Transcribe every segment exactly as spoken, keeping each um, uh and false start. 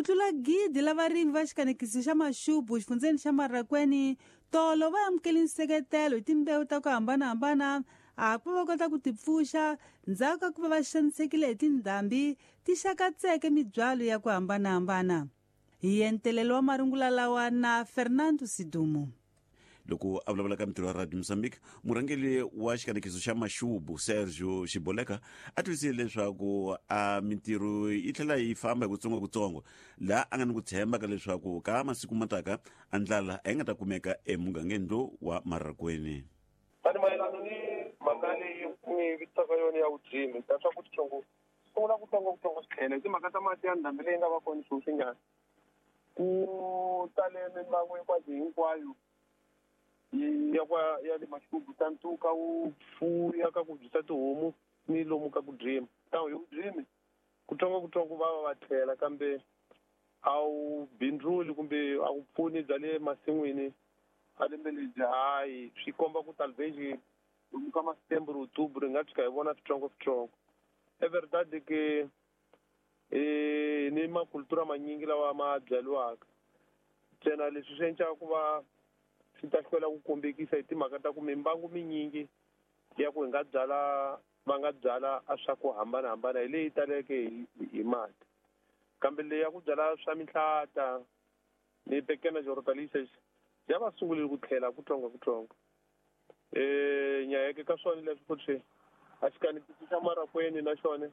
Ku tlula gidi la varimi va xikanekiso xa Maxubu xifundzeni xa Marracuene tolo va amukele nseketelo hi timbewu ta ku hambanahambana a ku va kota ku tipfuxa ndzhaku ka ku va va xanisekile hi tindhambi ti xakatseke mibyalo ya ku hambanahambana. Hi entelelo wa marungula lawa na Fernando Sidumo. Loko a vulavula ka mintirho ya Radio Mozambique, murhangeri wa xikanekiso xa Maxubu Sergio Xiboleka a tivisile leswaku a mintirho yi tlhela yi famba hi kutsongokutsongo, laha a nga ni ku tshemba ka leswaku ka masiku mataka a ndlala a yi nga ta kumeka emugangeni lowu wa Marracuene. Tani mayelana ni mhaka leyi mi vitisaka yona ya vurimi ta swa ku titsongo sungula kutsongokutsongo swi tlhela hi timhaka ta mati ya ndhambi leyi nga va kona sweswinyana ku tale mimbangu hinkwayo hinkwayo ya kwa ya le Maxubu ta ntuka wu fuya ka ku byisa tihomu ni lomu ka ku drima tawu hi ku drimi kutsongokutsongo va va va tlhela kambe a wu bindzuli kumbe a wu pfuni bya le masin'wini a lembe lebyi hayi swi komba ku talvez lomu ka ma-September October hi nga tshuka hi vona switsongo-switsongo. É verdade que eh ni makultura manyingi lawa ma byariwaka ntsena leswi swi endlaka ku va swi ta hlwela ku kombekisa hi timhaka ta ku mimbangu minyingi ya ku hi nga byala va nga byala a swa ku hambanahambana hi leyi taleke hi, hi mati kambe leyi ya ku byala swa mihlata ni pequenas hortaliças ya va sungulile ku tlhela kutsongo-kutsongo. Eh nyayeke ka swona leswi futhi a xikanekiso xa Marracuene na xona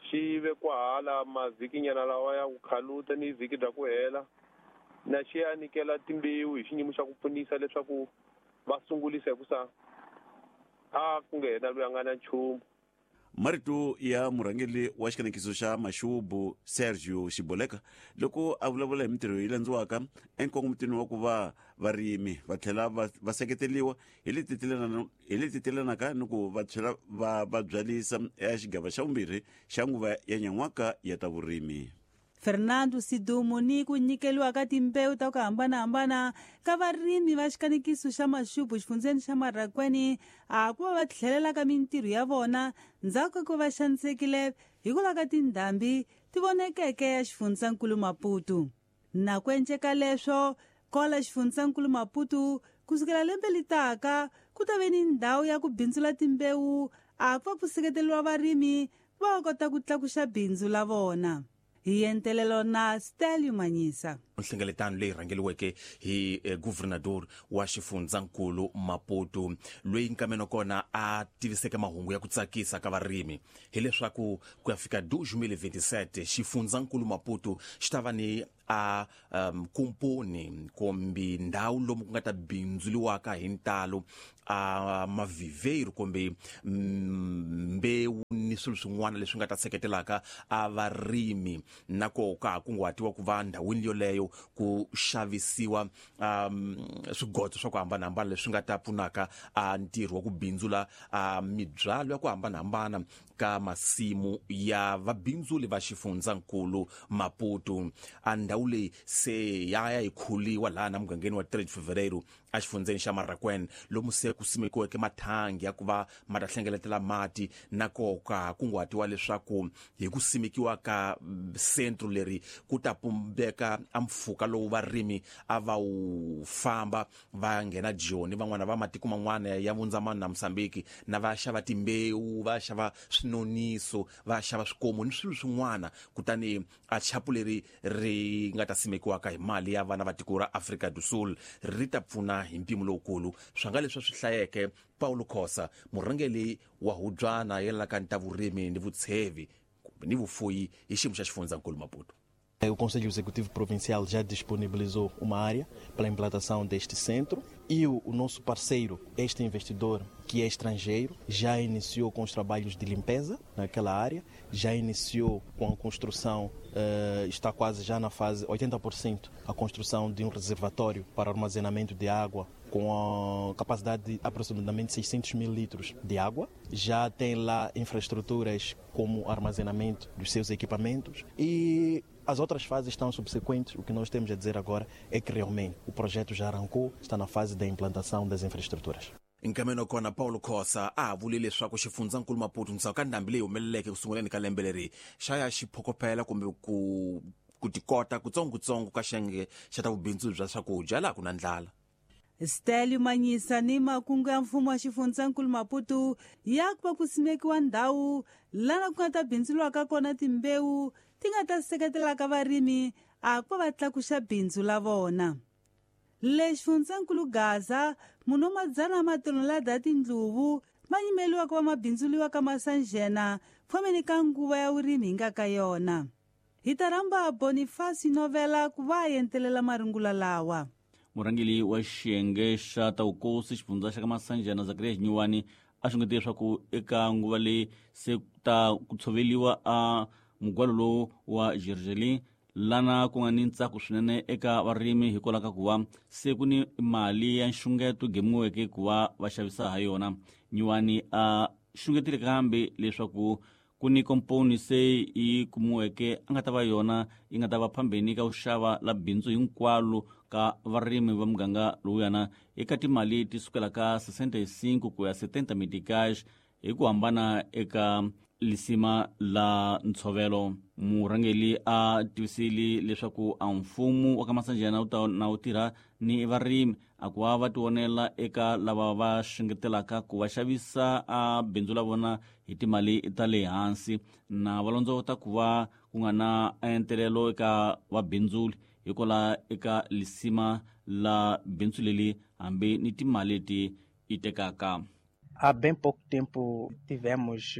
xi vekiwa hala mavhikinyana lawa ya ku khaluta ni vhiki bya ku hela na xi ya nyikela timbewu hi xiyimo xa ku pfunisa leswaku va sungulisa hikusa a ku nge hena loyi a nga na nchumu. Marito ya murhangeri wa xikanekiso xa Maxubu Sergio Xiboleka loko a vulavula hi mintirho yi landziwaka enkongomitini wa ku va varimi va tlhela va, va seketeriwa hi leti hi leti telanaka ni ku va tlhela va va byalisa eka xigava xa vumbirhi xa nguva ya nyan'waka ya ta vurimi. Fernando Sidumo ni ku nyikeliwa ka timbewu ta ku hambanahambana ka varimi va xikanekiso xa Maxubu xifundzeni xa Marracuene a ku va va tlhelela ka mintirho ya vona ndzhaku ka ku va xanisekile hikwalaho ka tindhambi ti vonekeke ya xifundzankulu Maputo. Na ku enceka leswo kola xifundzankulu Maputo kusukela lembe litaka ku ta ve ni ndhawu ya ku bindzula timbewu a ku va ku seketeriwa varimi va kota ku tlakuxa bindzu la vona. Hi entelelo na Stelio Manyisa. Nhlengeletano leyi rhangeriweke hi eh, governador wa xifundzankulu Maputo loyi nkameno kona a tiviseke mahungu ya ku tsakisa ka varimi hileswaku ku ya fika dois mil e vinte e sete xifundzankulu Maputo xi ta va ni a um, kumponi kumbe ndhawu lomu ku nga ta bindzuliwaka hi ntalo a maviveiro kumbe mbewu ni swilo swin'wana leswi nga ta seketelaka a varimi na ko ka ha kunguhatiwa ku va ndhawini yoleyo ku xavisiwa um, swigodzo swa ku hambanahambana leswi nga ta pfunaka a ntirho wa ku bindzula a mibyalo ya ku hambanahambana ka masimu ya vabindzuli va xifundzankulu Maputo. A ndhawu leyi se ya ya yi khuliwa laha na mugangeni wa três de Fevereiro a xifundzeni xa Marracuene lomu se ku simekiweke mathangi ya ku va ma ta hlengeletela mati na koka kunguhatiwa leswaku hi ku simekiwa ka centro leri ku ta pumbeka a mpfhuka lowu varimi a va wu famba va nghena Joni van'wana va matiko man'wana ya Vundzamani na Mozambique na va xava timbewu va xava swinoniso va xava swikomu ni swilo swin'wana kutani a chapu leri ri nga ta simekiwaka hi mali ya vana va tiko ra Afrika do Sul ri ta pfuna hi mpimo lowukulu swa nga leswi swi hlayeke Paulo Khosa murhangeri wa hubyana yelanaka ni ta vurimi ni vutshevi kumbe ni vufuyi hi xiyimo xa xifundzankulu Maputo. O Conselho Executivo Provincial já disponibilizou uma área para a implantação deste centro e o, o nosso parceiro, este investidor que é estrangeiro, já iniciou com os trabalhos de limpeza naquela área, já iniciou com a construção, eh, está quase já na fase oitenta por cento, a construção de um reservatório para armazenamento de água com a capacidade de aproximadamente seiscentos mil litros de água. Já tem lá infraestruturas como armazenamento dos seus equipamentos e as outras fases estão subsequentes. O que nós temos a dizer agora é que realmente o projeto já arrancou, está na fase da implantação das infraestruturas. Nkameno kona Paulo Khosa a vule leswaku xifundzankulu Maputo ndzhaku ka ndhambi leyi humeleleke ku sunguleni ka lembe leri xa ya xi phokopela kumbe ku ku tikota kutsongotsongo ka xiyenge xa ta vubindzu bya swakudya laha ku na ndlala. Stelio Manyisa ni makungu ya mfumo wa xifundzankulu Maputo ya ku va ku simekiwa ndhawu lana ku nga ta bindzuriwaka kona timbewu ti nga ta seketelaka varimi a ku va va tlakuxa bindzu la vona. Le xifundzankulu Gaza munhu wa madzana matonelada ya tindluvu ma yimeliwa ku va ma bindzuriwa ka Masanjena fomeni ka nguva ya vurimi hi nga ka yona. Hi ta rhamba Boniface Novela ku va a entelela marungula lawa. Murhangeri wa xiyenge xa ta vukosi xifundza xa ka Masanjana Zakaria Xinyuwani a xungete leswaku eka nguva leyi se ta ku tshoveliwa a mugwalo lowu wa Gergelin lana ku nga ni ntsako swinene eka varimi hikwalaho ka ku va se ku ni mali ya nxungeto gemiweke ku va va xavisa ha yona. Nyuwani a xungetile kambe leswaku ku ni komponi se yi kumiweke a nga ta va yona yi nga ta va phambeni ka ku xava la bindzu hinkwalo ka varimi va muganga lowuyana eka timali ti sukela ka sessenta e cinco ku ya setenta meticais hi ku hambana eka lisima la ntshovelo. Murhangeri a tivisile leswaku a mfumo wa ka Masanjana wu ta na wu tirha ni varimi a ku va va tivonela eka lava va xengetelaka ku va xavisa a bindzu la vona hi timali ta le hansi na va londzovota ku va ku nga na entelelo eka vabindzuli hikwalaho eka lisima la bindzu leri hambi ni timali leti yi tekaka. Há bem pouco tempo tivemos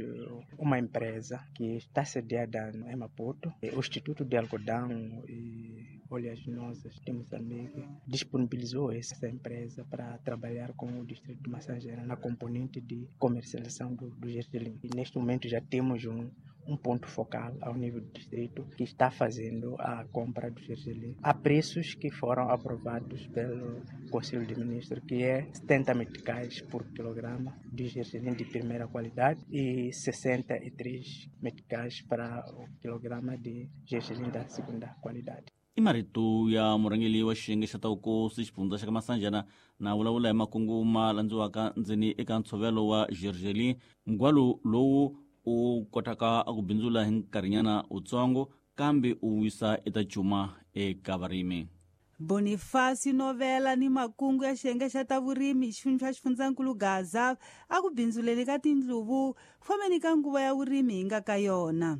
uma empresa que está sediada em Maputo, o Instituto de Algodão e Oleaginosas de Moçambique, disponibilizou essa empresa para trabalhar com o distrito de Massangena na componente de comercialização do, do gergelim. E neste momento já temos um, um ponto focal ao nível do distrito que está fazendo a compra do gergelim a preços que foram aprovados pelo Conselho de Ministros, que é setenta meticais por quilograma de gergelim de primeira qualidade e sessenta e três meticais para o quilograma de gergelim da segunda qualidade. I marito ya murhangeri wa xiyenge xa ta vukosi xifundza xa ka Masanjana na vulavula hi makungu ma landziwaka ndzeni eka ntshovelo wa gergelin, mugwalo lowu u kotaka ku bindzula hi nkarhinyana wutsongo kambe u wisa eta cuma eka varimi. Boniface Novela ni makungu ya xiyenge xa ta vurimi xifundza xa xifundzankulu Gaza a ku bindzuleni ka tindluvu fomeni ka nguva ya vurimi hi nga ka yona.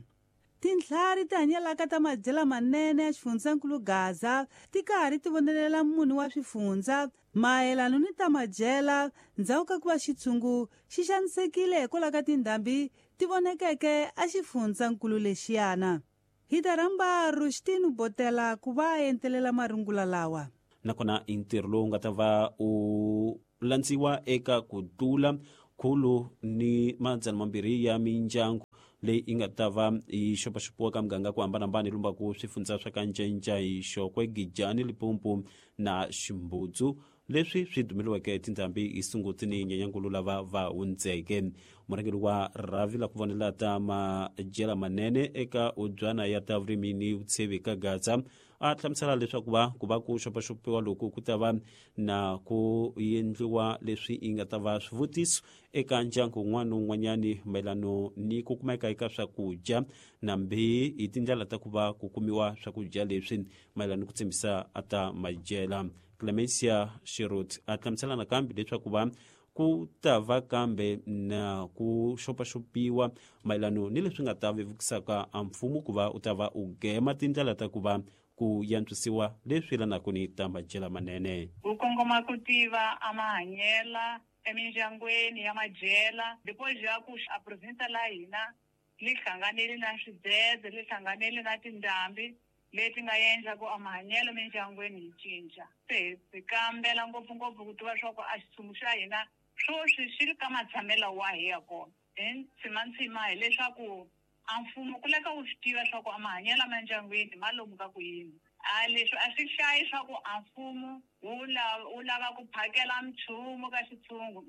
Tintlhari ti hanyelaka ta madyela manene ya xifundzankulu Gaza ti karhi ti vonelela munhu wa swifundza mayelano ni ta madyela ndzhaku ka ku va xitshungu xi xanisekile hikwalaho ka tindhambi ti vonekeke a xifundzankulu lexiyana. Hi ta rhamba Rushtinu Botela ku va a entelela marungula lawa. Nakona i ntirho lowu nga ta va u landziwa eka ku tlula khulu ni madzana mambirhi ya mindyangu leyi yi nga ta va yi xopaxopiwa ka muganga ku hambanahambana yi lumbaku swifundza swa ka Ncenca hi Xokwe, Gijani, Limpopo na Ximbudzu leswi swi dumeliweke tindhambi hi Sunguti ni Nyenyankulu lava va hundzeke. Murhangeri wa rhavi la ku vonela ta madyela manene eka ubyana ya ta vurimi ni vutshevi ka Gaza a hlamusela leswaku va ku va ku xopaxopiwa loku ku ta va na ku endliwa leswi yi nga ta va swivutiso eka ndyangu wun'wana ni wun'wanyani mayelano ni ku kumeka eka swakudya nambi hi tindlela ta ku va ku kumiwa swakudya leswi mayelano ku tshembisa a ta madyela. Clemencia Shirot a hlamusela nakambe leswaku va ku ta va kambe na ku xopaxopiwa mayelano ni leswi nga ta vevukisaka a mfumo ku va u ta va u gema tindlela ta ku va ku yantswisiwa leswi yelanaka ni ta madyela manene. Ku kongoma ku tiva a mahanyela emindyangwini ya madyela depois ya ku a province la hina li hlanganile na swidzedze li hlanganile na tindhambi leti nga endla ku a mahanyelo mindyangwini yi cinca. Se hi kambela ngopfungopfu ku tiva swa ku a xitshungu xa hina swoswi xi ri ka matshamelo wahi ya kona. Hi ntsimantsima hileswaku a mfumo ku leka wu swi tiva swa ku a mahanyelo emindyangwini ma lomu ka ku yini. A leswi a swi hlayi swa ku a mfumo wu lava wu lava ku phakela nchumu ka xitshungu,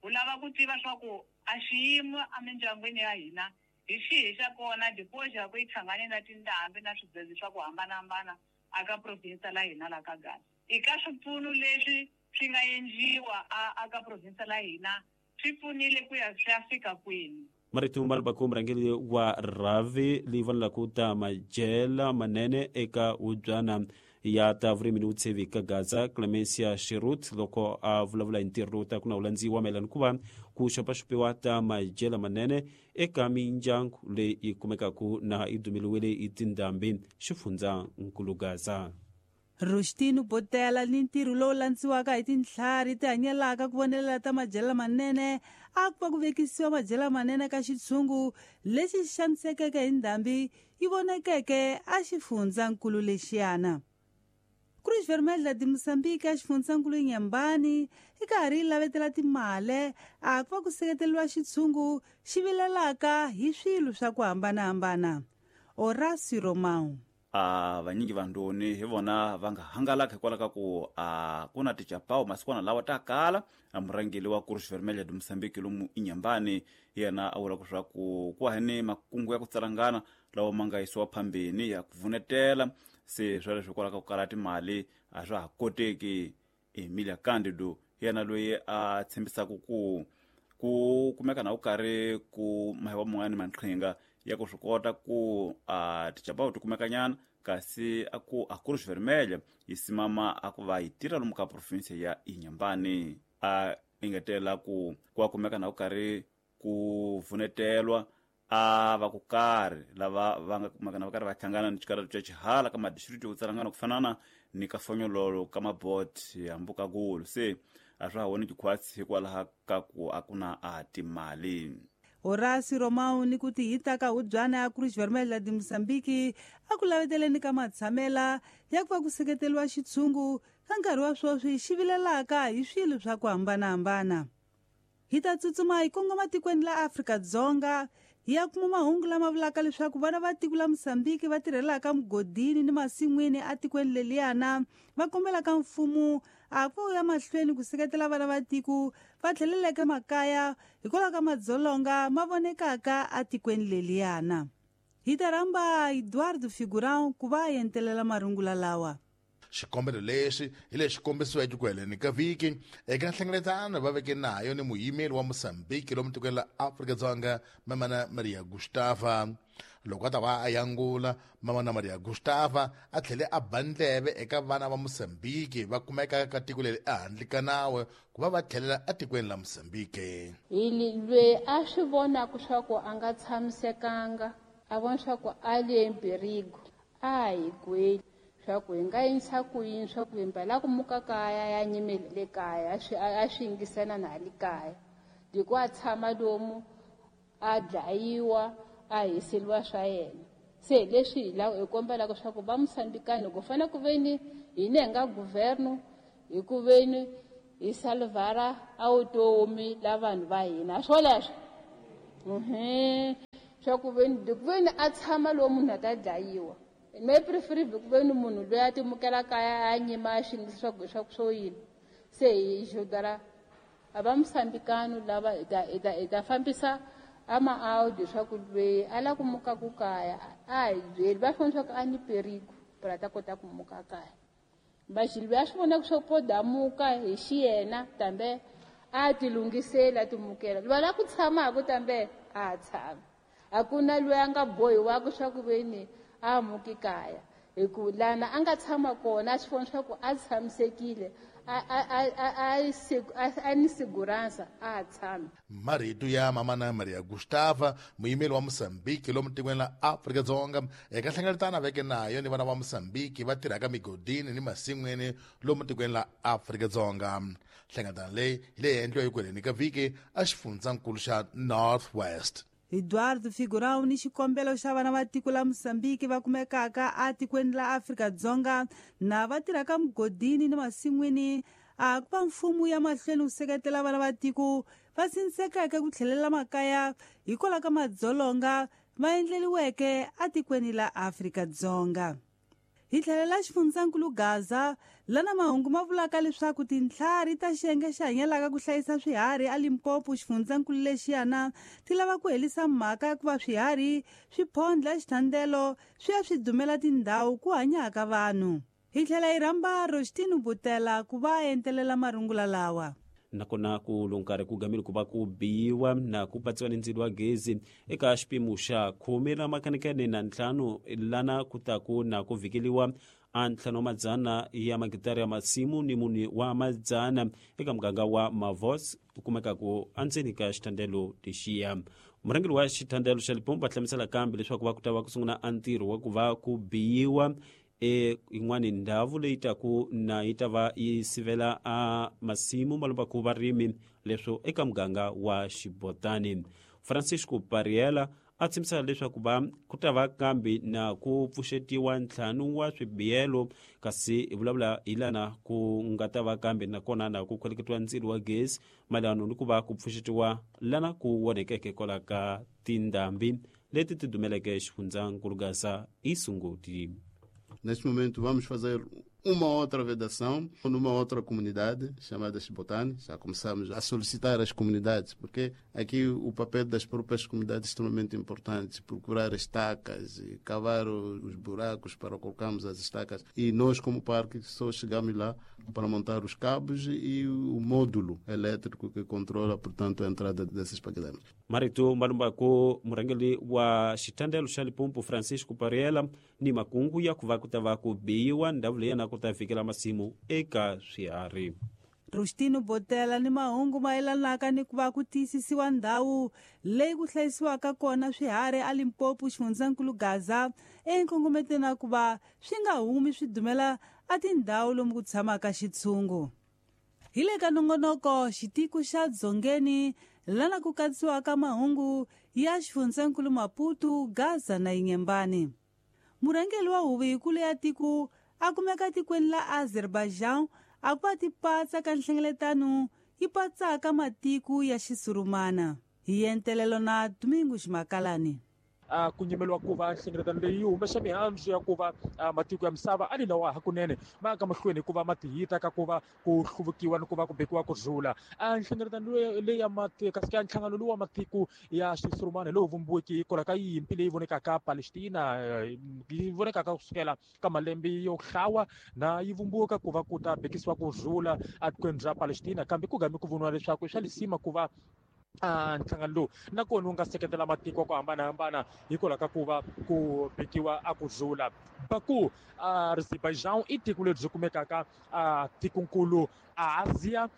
wu lava ku tiva swa ku a xiyimo emindyangwini ya hina hi xihi xa kona depois ya ku yi hlangane na tindhambi na swidzedze swa ku hambanahambana aka province la hina la ka Gaza. I ka swipfuno leswi swi nga endliwa a aka province la hina swi pfunile ku ya swi ya fika kwini. Marito Malbako murhangeri wa rhavi leyi vonelaka ta madyela manene eka hubyana ya ta vurimi ni vutsheve ka Gaza Clemencia Shirut loko a vulavula hi ntirho lowu taka na wu landziwa mayelana ku va ku xopaxopiwa ta madyela manene eka mindyangu leyi yi kumekaka na yi dumeliwile hi tindhambi xifundzankulu Gaza. Rustino Botela ni ntirho lowu landziwaka hi tintlhari ti hanyelaka ku vonelela ta madyela manene a ku va ku vekisiwa madyela manene ka xitshungu lexi xanisekeke hi ndhambi yi vonakeke a xifundzankulu lexiyana. Cruz Vermelha de Moçambique a xifundzankulu Inhambane yi karhi yi lavetela timale a ku va ku seketeriwa xitshungu xi vilelaka hi swilo swa ku hambanahambana. Horácio Romão. A vanyingi vandoni hi vona va nga hangalaka hikwalaho ka ku a ku na tichapawu masikwana lawa ta kala. A murhangeri wa Cruz Vermelha de Moçambique lomu Inhambane yena a vula leswaku ku hani makungu ya ku tsalangana lawa ma nga yisiwa phambeni ya ku vunetela se swoleswo hikwalaho ka ku kala timali a swa ha koteki. Emilia Candido yena loyi a tshembisaka ku ku kumeka na ku karhi ku mahewa man'wani maqhinga ya ku swi kota ku a tichapawu ti kumekanyana kasi a ku a Cruz Vermelha yi simama a ku va yi tirha lomu ka province ya Inhambane. A engetela ku ku kumeka na ku karhi ku vunetelwa a va ku karhi lava va nga kumeka na va karhi va hlangana ni xikarhi xa xihala ka madistrikti yo tsalangana ku fanana ni ka Fonyololo ka Mabot ya Mbukagulu se a swa ha voneki khwatsi hikwalaho ka ku a ku na a timali. Horácio Romão ni ku tihita ka hubyana ya Cruz Vermelha de Moçambique a ku laveteleni ka matshamela ya ku va ku seketeriwa xitshungu ka nkarhi wa sweswi xi vilelaka hi swilo swa ku hambanahambana. Hi ta tsutsuma hi kongoma tikweni la Afrika-Dzonga hi ya kuma mahungu lama vulaka leswaku vana va tiko la Moçambique va tirhelaka mugodini ni masin'wini atikweni leliyana va kombelaka mfumo a ku ya mahlweni ku seketela vana va tiko va tlheleleke makaya hikwalaho ka madzolonga ma vonekaka atikweni leliyana. Hi ta rhamba Eduardo Figurão ku va a entelela marungula lawa. Xikombelo lexi hi lexi kombisiweke ku heleni ka vhiki eka nhlengeletano va veke nayo ni muyimeri wa Mozambique lomu tikweni la Afrika-Dzonga Mamana Maria Gustava. Loko a ta va a yangula Mamana Maria Gustava a tlhele a ba ndleve eka vana va Mozambique va kumekaka ka tiko leri ehandle ka nawu ku va va tlhelela etikweni la Mozambique. Hi loyi a swi vonaka swa ku a nga tshamisekanga a vona swa ku a le mpirigo a hi gweli swa ku hi nga yinisa ku yini swa ku himpela ku muka kaya ya nyimele le kaya a swi a swi yingisana na le kaya hi ku a tshama lomu a dlayiwa a hiseriwa swa yena. Se leswi hi lava hi kombelaka swa ku va Mosambikani ku fanele ku veni hina hi nga governo hi ku veni hi salvara a vutomi la vanhu va hina swoleswo mhm swa ku veni ku veni a tshama lomu munhu a ta dlayiwa. Me prefer ku veni munhu loyi a timukela kaya a nyima a xingisa swa ku swa ku swo yini. Se hi xodara a va Mosambikani lava hi ta hi ta hi ta fambisa a ma-audio swa ku loyi a lava ku muka ku kaya a hi byeli va swi vona swa ku a ni perigo para ta kota ku muka kaya. Baxi loyi a swi vonaka swa ku po damuka hi xiyena tambe a ti lunghiseli a timukela. Loyi a lava ku tshamaka tambe a tshama. A ku na loyi a nga bohiwaka swa ku veni a muki kaya hi ku lana a nga tshama kona a swi vona swa ku a tshamisekile a a a a a ni segurança a tshami. Marito ya Mamana Maria Gustava muyimeri wa Mozambique lomu tikweni la Afrika-Dzonga eka nhlengeletano a veke nayo ni vana va Mozambique va tirhaka migodini ni masin'wini lomu tikweni la Afrika-Dzonga. Nhlengeletano leyi hi leyi endliwa eku heleni ka vhiki a xifundzankulu xa North West. Eduardo Figurão ni xikombelo xa vana va tiko la Mozambique va kumekaka atikweni la Afrika-Dzonga na va tirhaka mugodini ni masin'wini a ku va mfumo ya mahlweni wu seketela vana va tiko va sindzekeke ku tlhelela makaya hikwalaho ka madzolonga va endleliweke atikweni la Afrika-Dzonga. Hi tlhelela xifundzankulu Gaza lana mahungu ma vulaka leswaku tintlhari ta xiyenge xi hanyelaka ku hlayisa swiharhi a Limpopo xifundzankulu lexiyana ti lava ku herisa mhaka ya ku va swiharhi swi phondla xithandelo swi ya swi dumela tindhawu ku hanyaka vanhu. Hi tlhela hi rhamba Rostino Butela ku va a entelela marungula lawa. Nakona ku lonkarhi ku gamile ku va ku biwa na ku patsiwa ni ndzilo wa gezi eka xipimo xa khume ra makhanikene na ntlhanu lana ku ta ku na ku vhikeliwa a ntlhanu wa madzana ya magitara ya masimu ni mune wa madzana eka muganga wa Mavos ku kumekaku endzeni ka xithandelo lexiya. Murhangeri wa xithandelo xa Limpopo va hlamusela kambe leswaku va ku ta va ku sungula a ntirho wa ku va ku biyiwa e yin'wani ndhawu leyi taku na yi ta va yi sivela a masimu malombaku varimi leswo eka muganga wa Xibotani. Francisco Pariela a tshembisa leswaku va ku ta va kambe na ku pfuxetiwa ntlhanu wa swibiyelo, kasi hi vulavula hi lana ku nga ta va kambe nakona na ku khweleketiwa ndzilo wa gezi mayelana ni ku va ku pfuxetiwa lana ku onhekeke kwala ka tindhambi leti ti dumeleke xifundzankulu Gaza Isungoti. Neste momento vamos fazer uma outra vedação numa outra comunidade chamada Xibotane. Já começamos a solicitar as comunidades, porque aqui o papel das próprias comunidades é extremamente importante, procurar estacas e cavar os buracos para colocarmos as estacas. E nós, como parque, só chegamos lá para montar os cabos e o módulo elétrico que controla, portanto, a entrada desses paquidermos. Marito Malumbako, murhangeri wa xithandelo xa Limpopo Francisco Pariela ni makungu ya ku va ku ta va ku biwa ndhawu leyi na ku ta fikela masimu eka swiharhi. Rustino Botela ni mahungu mayelanaka ni ku va ku tiyisisiwa ndhawu leyi ku hlayisiwaka kona swiharhi a Limpopo xifundzankulu Gaza enkongometeni na ku va swi nga humi swi dumela a tindhawu lomu ku tshamaka xitshungu. Hi le ka nongonoko xitiko xa Dzongeni lana ku katsiwaka mahungu ya xifundzankulu Maputo, Gaza na Inhambane. Murhangeri wa huvo yikulu ya tiko a kumeka tikweni la Azerbaijan a ku va ti patsa ka nhlengeletano yi patsaka matiko ya xisurumana. Hi entelelo na Domingo Ximakalani. Ku nyimeliwa ku va nhlengeletano leyi yi humesa mihandzu ya ku va matiko ya misava a ni lawa hakunene ma ka mahlweni ku va ma tihita ka ku va ku hluvukiwa ni ku va ku bekiwa ku rhula. A nhlengeletano leyi ya matiko kasi ka nhlangano lowu wa matiko ya xisurumani lowu vumbiweke hikwalaho ka yimpi leyi vonekaka Palestina yi vonekaka kusukela ka malembe yo hlawa na yi vumbiweka ku va ku ta bekisiwa ku rhula etikweni ra Palestina, kambe ku game ku voniwa leswaku i swa lisima ku va nhlangano lowu nakona wu nga seketela matiko ku hambanahambana hikwalaho ka ku va ku bekiwa a ku rhula. Baku Azerbaijan i tiko leri byi kumekaka tikonkulu Asia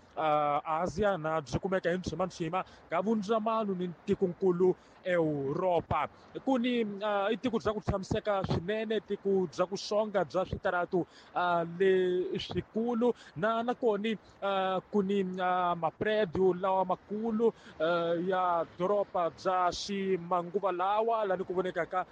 Asia na byi kumeka hi ntshima ka vundzamano ni tikonkulu Europa. Ku ni i tiko bya ku tshamiseka swinene, tiko bya ku xonga bya switaratu leswikulu na nakona ku ni mapredio lawa makulu ya doroba bya ximanguva lawa lani ku vonekaka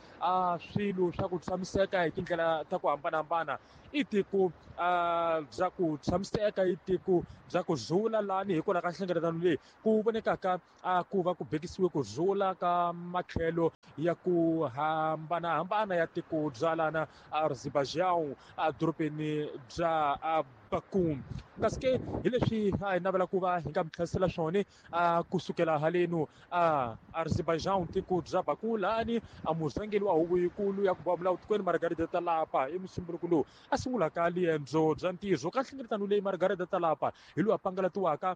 swilo swa ku tshamiseka hi tindlela ta ku hambanahambana. I tiko bya ku tshamiseka, i tiko bya ku rhula lani hikwalaho ka nhlengeletano leyi ku vonekaka ku va ku bekisiwe ku rhula ka matlhelo ya ku hambanahambana ya tiko bya lana Azerbaijan edorobeni bya Baku. Kasi ke hi leswi a hi navela ku va hi nga mi tlherisela swona kusukela halenu Azerbaijan tiko bya Baku lani a murhangeri wa huvo yikulu ya ku va milawu tikweni Margarida Talapa i musumbuluko lowu a sungulaka liendzo bya ntirho ka nhlengeletano leyi Margarida Talapa hi lowu a pangalatiwaka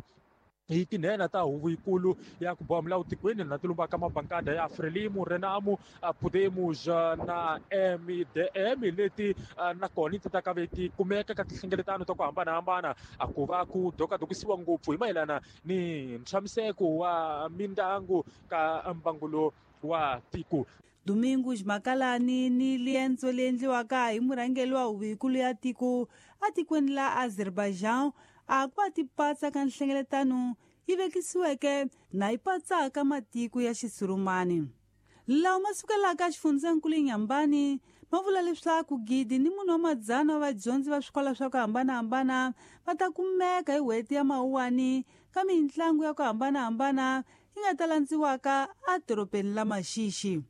hi tinhena ta huvo yikulu ya ku boha milawu tikweni na ti lumbaka mabankada ya Frelimo, Renamo, Podemos na M D M leti nakona ti ta ka ve ti kumeka ka tinhlengeletano ta ku hambanahambana a ku va ku dokadokisiwa ngopfu hi mayelana ni ntshamiseko wa mindyangu ka mbangulo wa tiko. Domingo Ximakalani ni liendzo leri endliwaka hi murhangeri wa huvo yikulu ya tiko etikweni la Azerbaijan a ku va ti patsa ka nhlengeletano yi vekisiweke na yi patsaka matiko ya xisurumani. Lawa ma sukelaka xifundzankulu Inhambane ma vula leswaku gidi ni munhu wa madzana wa vadyondzi va swikolo swa ku hambanahambana va ta kumeka hi n'hweti ya Mawuwani ka mitlangu ya ku hambanahambana yi nga ta landziwaka edorobeni la Maxixi.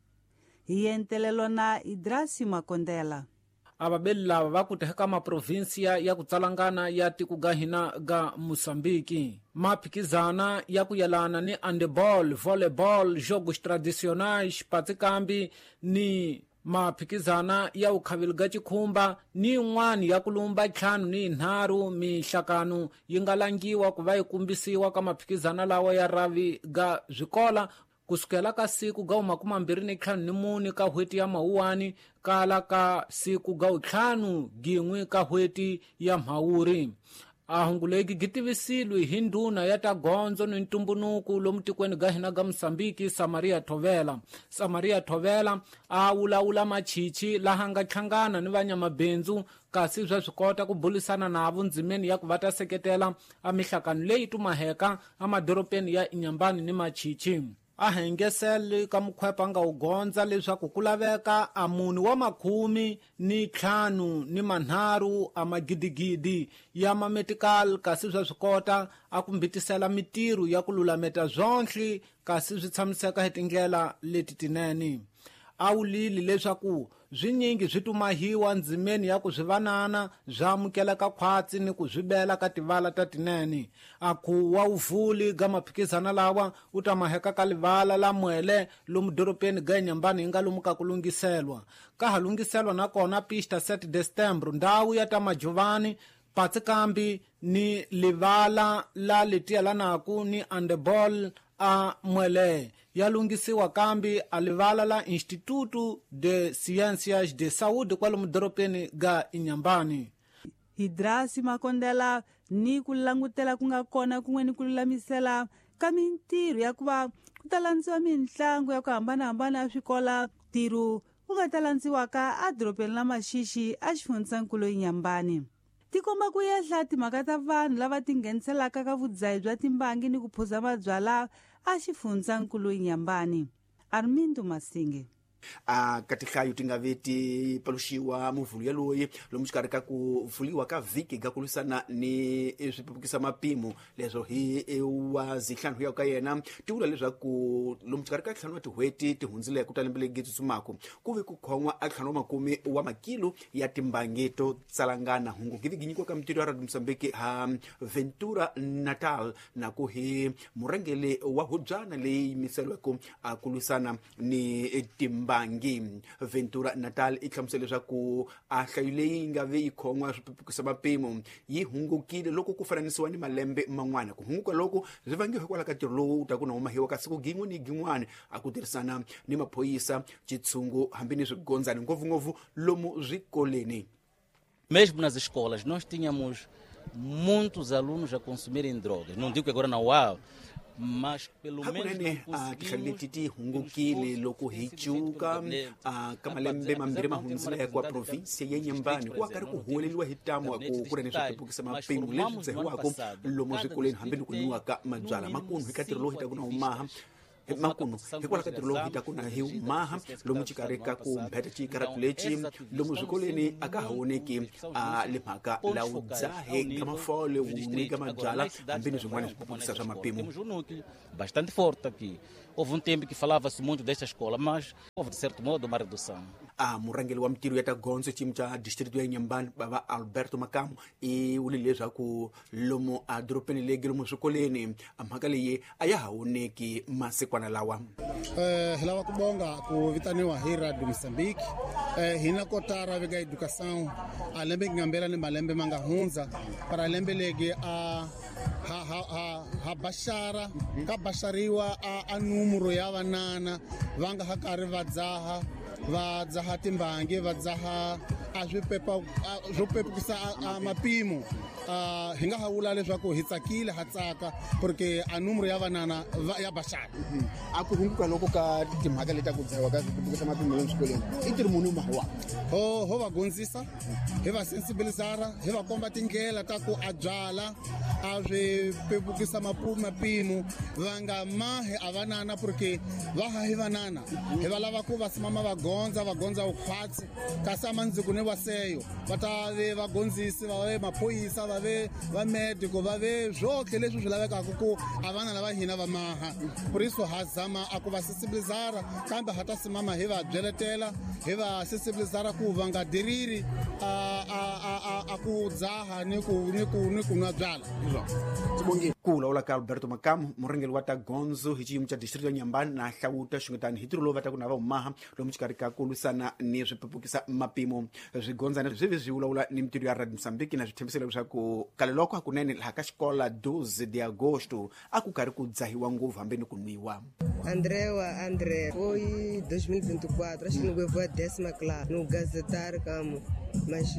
Hi entelelo na Idrasi Makondela. Avabeli lava va ku teka maprovinsia ya ku tsalangana ya tiko ga hina ga Moçambique. Maphikizana ya ku yelana ni handball, volleyball, jogos tradicionais, patikambi ni Maphikizana ya ukhaveli ga cikhumba ni yin'wana ya kulumba ntlhanu ni yinharhu mihlakano yi nga langiwa ku va yi kumbisiwa ka maphikizana lawa ya ravi ga swikola kusukela ka siku ga makumambirhi ni ntlhanu ni mune ka n'hweti ya Mawuwani kala ka siku ga ntlhanu gin'we ka n'hweti ya Mhawuri. A hungu legi gi tivisilwe hi ndhuna ya ta gondzo ni ntumbunuku lomu tikweni ga hina ga Mosambiki Samaria Thovela. Samaria Thovela a wulawula machichi laha nga hlangana ni vanyamabindzu kasi swa swi kota ku bulisana navo ndzimeni ya ku va ta seketela a mihlakano leyi tumaheka emadorobeni ya Inhambane ni Machichi. A hengeseli ka mukhwepa nga wu gondza leswaku ku laveka a munhu wa makhumi ni ntlhanu ni manharhu a magidigidi ya mametikali kasi swa swi kota a ku mbitisela mitirho ya ku lulameta zwonhle kasi swi tshamiseka hi tindlela leti tinene. A wulile leswaku swinyingi swi tumahiwa ndzimeni ya ku swi vanana swi amukeleka khwatsi ni ku swi bela ka tivala ta tinene. A ku wa uvuli ga maphikizana lawa u ta maheka ka livala la Mwele lomu dorobeni ga Inhambane yi nga lomu ka ku lunghiselwa. Ka ha lunghiselwa nakona pista sete de setembro ndhawu ya ta Majuvani patsi kambi ni livala la letielanaku ni handball a Mwele ya lunghisiwa kambi a livala la Instituto de Ciências de Saúde kwalomu dorobeni ga Inhambane. Hidrasi Makondela ni ku langutela ku nga kona kun'we ni ku lulamisela ka mintirho ya ku va ku ta landziwa mintlangu ya ku hambanahambana ya swikola ntirho wu nga ta landziwaka edorobeni la Maxixi a xifundzankulu Inhambane. Ti komba ku yehla timhaka ta vanhu lava tingheniselaka ka vudzahi bya timbangi ni ku phuza mabyala a xifundzankulu Inhambane. Armindo Masinge. A ka tihlayo ti nga ve ti paluxiwa muvhulu yaloyi lomu xikarhi ka ku vuliwa ka vhiki ga ku lwisana ni swipepukisa mapimo leswo hi wa zihlanu ya ka yena ti vula leswaku lomu xikarhi ka ntlhanu wa tin'hweti ti hundzileke ta lembe legi tsutsumaka ku ve ku khon'wa a ntlhanu wa makume wa makilo ya timbangi to tsalangana. Hungu gi vi nyikiwa ka mitirho ya Radio Mozambique ha Ventura Natal na ku hi murhangeri wa hubyana leyi yimiseriweke a ku lwisana ni timbangi. Ventura Natal i hlamusela leswaku a nhlayo leyi nga ve yi khon'wa swipepukisa mapimo yi hungukile loko ku fananisiwa ni malembe man'wana. Ku hunguka loko swi vangiwa hikwalaho ka ntirho lowu wu ta ku na humahiwa ka siku gin'we ni gin'wana a ku tirhisana ni maphorisa xitshungu hambi ni swigondzani ngopfungopfu lomu swikoleni. Mesmo nas escolas nós tínhamos muitos alunos a consumirem drogas. Não digo que agora não há, mas pelo menos hakunene a tinhlayo leti ti hungukile loko hi cuka a ka malembe mambirhi ma hundzileke wa provinsia ya Inhambane ku karhi ku huweleliwa hi tamu ku ku ri ni swipepukisa mapimo leswi dzahiwaka lomu swikolweni hambi ni ku nwiwaka mabyala makunu hi ka ntirho lowu hi ta ku na humaha makunu hikwalaho ka ntirho lowu hi ta ku na hi humaha lomu xikarhi ka ku mbheta xikaratu lexi lomu swikolweni a ka ha voneki a le mhaka la wu dzahe ka mafole wu nwi ka mabyala hambi ni swin'wana swipepukisa swa mapimo. Bastante forte aqui. Houve um tempo que falava-se muito desta escola, mas houve, de certo modo, uma redução. A murhangeri wa mitirho ya ta gondzo xiyimo xa distrito ya Inhambane bava Alberto Makamu i vule leswaku lomu a dorobeni legi lomu swikolweni a mhaka leyi a ya ha voneki masikwana lawa. Eh, hi lava ku bonga ku vitaniwa hi Radio Mozambique. Eh, hina kotara veka educação a lembe ngambela ni malembe ma nga hundza para lembe legi a ha ha ha ha bashara ka bashariwa a, a numero ya vanana va nga ha karhi va dzaha va dzaha timbangi va dzaha a swipepa swo pepukisa a mapimo. Hi nga ha vula leswaku hi tsakile ha tsaka porque a numero ya vanana ya bashara. A ku hunguka loko ka timhaka leti ta ku dzahiwa ka swipepukisa mapimo lomu swikolweni i ntirho muni wu mahiwaka? Ho ho va gondzisa hi va sensibilizara hi va komba tindlela ta ku a byala a swi pepukisa mapimo va nga mahi a vanana porque va ha hi vanana hi va lava ku va simama va gondza va gondza vukhwatsi kasi amandziko ni vaseyo va ta ve vagondzisi va ve maphorisa va ve va medico va ve swotlhe leswi swi lavekaka ku a vana lava hina va maha. Por isso ha zama a ku va sensibilizara kambe ha ta simama hi va byeletela hi va sensibilizara ku va nga diriri a a a a ku dzaha ni ku ni ku ni ku nwa byala. Ku vulavula ka Alberto Makamu, murhangeri wa ta gondzo hi xiyimo xa distrito ya Nyambani na hlawuta xungutani hi ntirho lowu va ta ku na va humaha lomu xikarhi ka ku lwisana ni swipepukisa mapimo. Swigondzana swi vi swi vulavula ni mintirho ya Radio Mozambique na swi tshembisile leswaku kale loko hakunene laha ka xikola doze de agosto a ku karhi ku dzahiwa ngopfu hambi ni ku nwiwa. Andrea André foi dois mil e vinte e quatro, acho que não foi a décima classe, no gazetário como, mas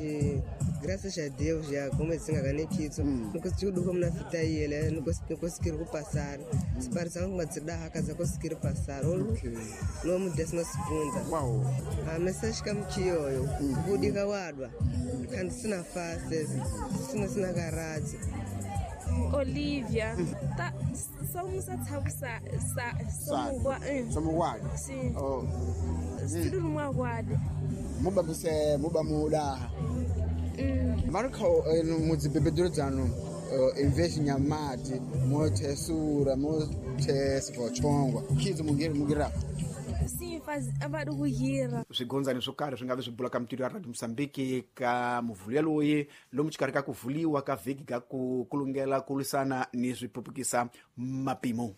graças a Deus já comecei a ganhar isso, não consegui como na fita ele, não consegui conseguir passar, se parecia uma cidade casa conseguir passar, ou no décima segunda. Uau. A mensagem que me tinha eu, budiga wadwa, quando se na face, se na se na garagem. Olivia, tá, somos a sa sa somos guarda. Sim. Oh. Tudo numa guarda. Muba você, muba muda. Marco no bebedor zano, investe em amate, mote sura, mote sfochongwa. Kizo mungiri mungira. Sim, faz abaruhira. Swigondzani swo karhi swi nga vi swi bula ka mintirho ya Radio Mozambique ka muvhulo yaloyi lomu xikarhi ka ku vuliwa ka vhiki ka ku kulungela ku lwisana ni swipupukisa mapimo.